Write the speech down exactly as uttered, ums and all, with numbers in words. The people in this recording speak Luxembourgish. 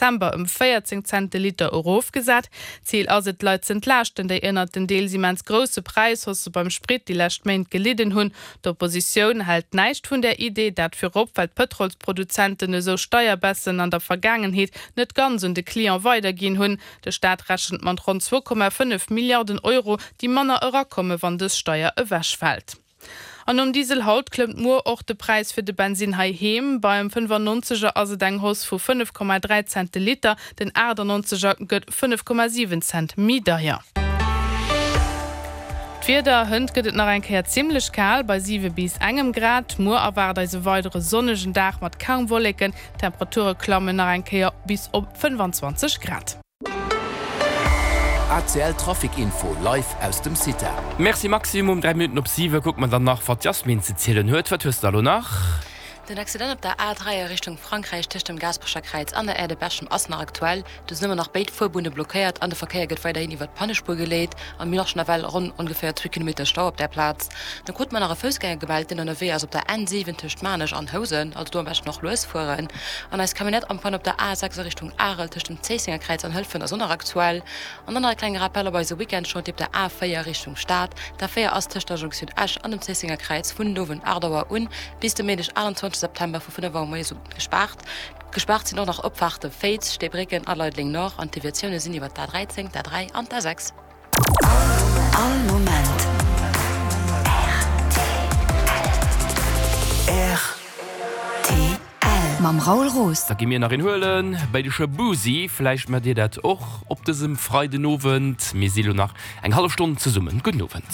September ëm véierzéng Cent de Liter erofgesat. Zil ass et, d'Leit z'entlaaschten, déi ënnert den deels immens grousse Präishaussë beim Sprit déi lescht Méint gelidden hunn. D'Oppositioun hält näischt vun där Idee, dat virop well d'Pëtrolsproduzenten esou Steierbaissen an der Vergaangenheet net ganz un de Client weiderginn hunn. De Staat rechent mat ronn zwou Komma fënnef Milliarden Euro, déi manner erakomme wann dës Steier ewechfält. An nom Diesel haut klëmmt muer och de Präis fir de Bensinn heiheem. Beim fënnefannonzeger ass et eng Hausse vu fënnef Komma dräi Cent de Liter, den aachtannonzeger gëtt fënnef Komma siwen Cent méi deier. D'Wieder, Hënt gëtt et nach eng Kéier zimmlech kal bei siwe bis engem Grad. Muer erwaart eis e weidere sonnegen Dag mat kaum Wolleken, d'Temperature klammen nach eng Kéier bis op fënnfanzwanzeg Grad. A C L Trafic Info live aus dem CITA. Merci Maxime, um dräi Minutten op siwe kucke mer dann nach wat d'Yasmine ze zielen huet. Wat hues de da lo nach? Den Accident op der A dräi a Richtung Frankräich tëscht dem Gaasperecher Kräiz an der Aire de Berchem ass nach aktuell. Do sinn ëmmer nach béid Fuerbunne blockéiert an de Verkéier gëtt weiderhin iwwer d'Pannespuer geleet. A mir hunn och schonn ewell ronn ongeféier zwee Kilometer Stau op där Plaz. Da krute mer nach e Foussgänger gemellt, deen ënnerwee ass op der N siwen tëscht Maarnech an Housen. Also do am beschten och lues fueren. An eis Camionnette am Panne op der A sechs a Richtung Arel tëscht dem Zéissenger Kräiz an Hëlfent ass och nach aktuell. An dann nach e klenge Rappel op eise Weekendchantier op der A véier Richtung Stad. D'A véier ass tëscht der Jonktioun Esch an dem Zéissenger Kräiz vun den Owend aacht Auer un bis de Méindeg achtanzwanzeg September vu fënnef Auer moies u gespaart. Gespaart sinn och nach Opfaarte Féiz, Steebrécken a Leideleng Nord an d'Deviatioune sinn iwwer d'A dräizéng, d'A dräi an d'A sechs. All Moment rtl. R T L mam Raoul Roos. Da gi mir nach een huelen bei de Shaboozey. Vläicht maacht dir dat och op dësem Freidenowend. Mir si lo nach eng hallef Stonn zesummen. Gudden Owend.